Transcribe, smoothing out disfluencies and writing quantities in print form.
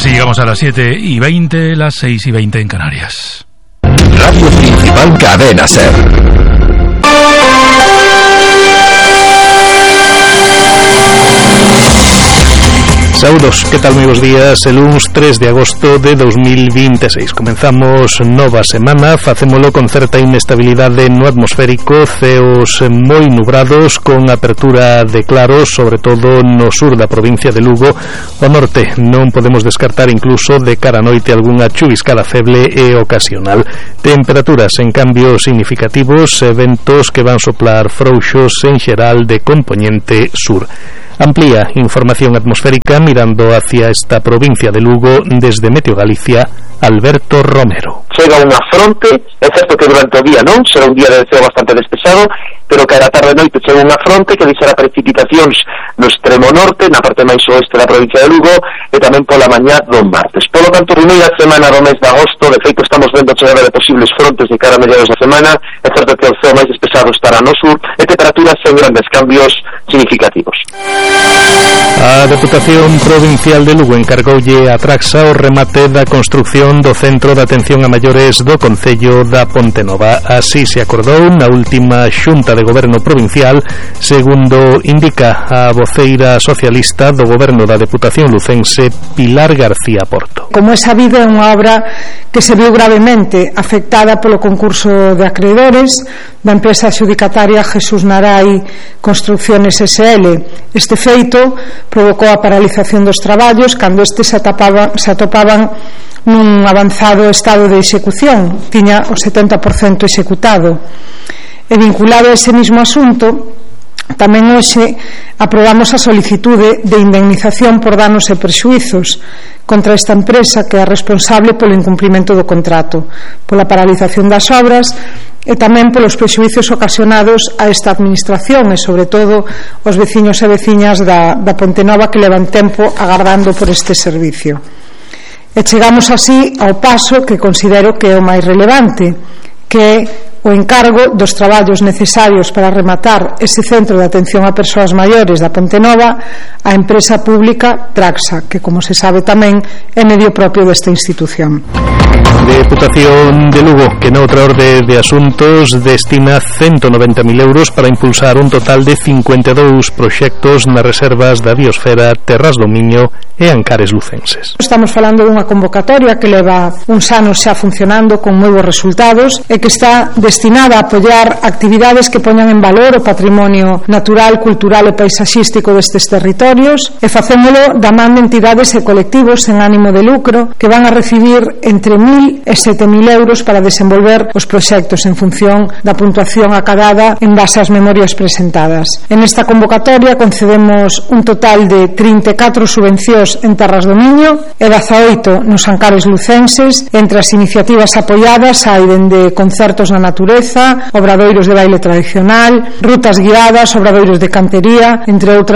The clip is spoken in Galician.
Así llegamos a las 7:20, las 6:20 en Canarias. Radio Principal Cadena SER. Saúdos, que tal, moi bons días. El luns 3 de agosto de 2026 comenzamos nova semana. Facémolo con certa inestabilidade no atmosférico, ceos moi nubrados, con apertura de claros, sobre todo no sur da provincia de Lugo. O norte non podemos descartar incluso de cara a noite algunha chuviscada feble e ocasional. Temperaturas en cambios significativos, ventos que van soplar frouxos en xeral de compoñente sur. Amplía información atmosférica mirando hacia esta provincia de Lugo desde Meteo Galicia, Alberto Romero. Chega unha fronte, é certo que durante o día non, será un día de ceo bastante despexado, pero que a tarde e noite chega unha fronte que deixará precipitacións no extremo norte, na parte máis oeste da provincia de Lugo, e tamén pola mañá do martes. Polo tanto, primeira semana do mes de agosto, de feito estamos vendo a chegada de posibles frontes de cara a mediados da semana, é certo que o ceo máis despexado estará no sur, e temperaturas sen grandes cambios significativos. A Deputación Provincial de Lugo encargoulle a Traxa o remate da construción do Centro de Atención a Maiores do Concello da Pontenova. Así se acordou na última xunta de Goberno Provincial, segundo indica a voceira socialista do Goberno da Deputación lucense, Pilar García Porto. Como é sabido, é unha obra que se viu gravemente afectada polo concurso de acreedores da empresa adxudicataria Jesús Narai Construcciones SL. Este feito provocou a paralización dos traballos cando estes se atopaban nun avanzado estado de execución, tiña o 70% executado. E vinculado a ese mismo asunto, tamén hoxe aprobamos a solicitude de indemnización por danos e prexuizos contra esta empresa, que é responsable polo incumprimento do contrato, pola paralización das obras e tamén polos prexuizos ocasionados a esta administración e sobre todo os veciños e veciñas da Pontenova, que levan tempo agardando por este servicio. E chegamos así ao paso que considero que é o máis relevante, que é o encargo dos traballos necesarios para rematar ese centro de atención a persoas maiores da Pontenova á empresa pública Traxa, que, como se sabe tamén, é medio propio desta institución. Deputación de Lugo, que noutra orde de asuntos destina 190.000 euros para impulsar un total de 52 proxectos nas reservas da biosfera Terras do Miño e Ancares lucenses. Estamos falando dunha convocatoria que leva uns anos xa funcionando con moi bons resultados e que está destinada a apoiar actividades que poñan en valor o patrimonio natural, cultural e paisaxístico destes territorios, e facémolo da man de entidades e colectivos sen ánimo de lucro que van a recibir entre 1.000 e 7.000 euros para desenvolver os proxectos en función da puntuación acadada en base ás memorias presentadas. En esta convocatoria concedemos un total de 34 subvencións en Terras do Miño e 18 nos Ancares lucenses. Entre as iniciativas apoiadas hai dende concertos na natureza, obradoiros de baile tradicional, rutas guiadas, obradoiros de cantería, entre outras